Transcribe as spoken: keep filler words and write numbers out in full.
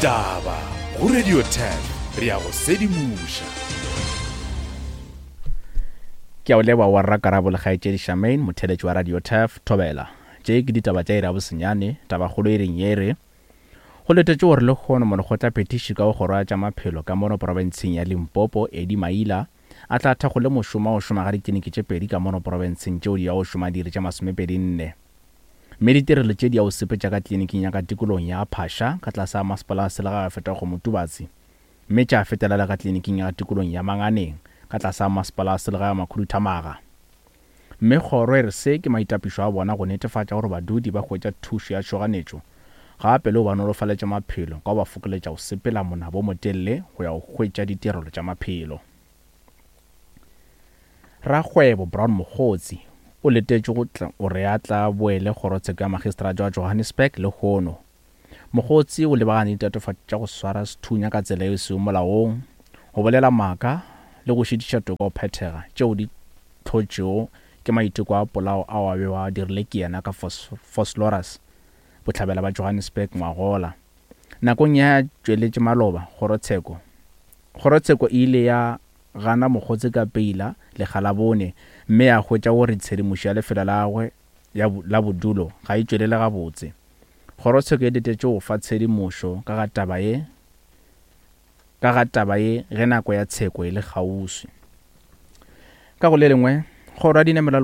Ditaba go Radio ten re ya go sedimoša. Ke a o leboga wa rrakarabo le kgaetšedi Charmaine, motheeletši wa Radio Turf, Thobela. Tše ke ditaba tša iri ya bosenyane, tabakgolo e reng ye re, Go letetšwe gore lehono molekgotlaphethiši ka go kgoro ya tša maphelo ka mono profenseng ya Limpopo, Eddie Maila, a tla thakgole mošomo wa go šoma ga ditliniki tše pedi ka mono profenseng tšeo di yago šoma diiri tše masomepedi nne. Mme ditirelo tše di ya go sepetša ka tliniking ya ka tikologong ya Phasha ka tlase ga masepala wa selegae wa Fetago Motubatsi mme tša fetela le ka tliniking ya ka tikologong ya Manganeng ka tlase ga masepala wa selegae wa Makhuduthamaga. Mme kgoro e re se ke maitapišo a bona go netefatša gore badudi ba hwetša thušo ya tšhoganetšo gape le go ba nolofaletša maphelo ka go ba fokoletša go sepela monabo o motelele go ya go hwetša ditirelo tša maphelo. Rakgwebo Brown Mogotsi o letetšwe go tla gore a tla boele kgorotsheko ya magistrata wa Johannesburg lehono. Mogotsi o lebagane le ditatofatšo tša go swara sethunya ka tsela yeo e sego molaong, go bolela maaka le go šitiša toka go phethega tšeo di hlotšwego ke maiteko a polao ao a bego a dirile ke yena ka Vosloorus, bohlabela bja Johannesburg ngwagola. Nakong ya tšweletše maloba, kgorotsheko kgorotsheko e ile ya gana Mogotsi ka peila lekga la bone mme ya hwetša gore tshedimošo ya lefelo la gagwe la bodulo ga e tšwelele gabotse. Kgorotsheko e letetše go fa tshedimošo ka ga taba ye ka ga taba ye ge nako ya tsheko e le kgauswi. Ka go le lengwe, kgoro ya dinamelwa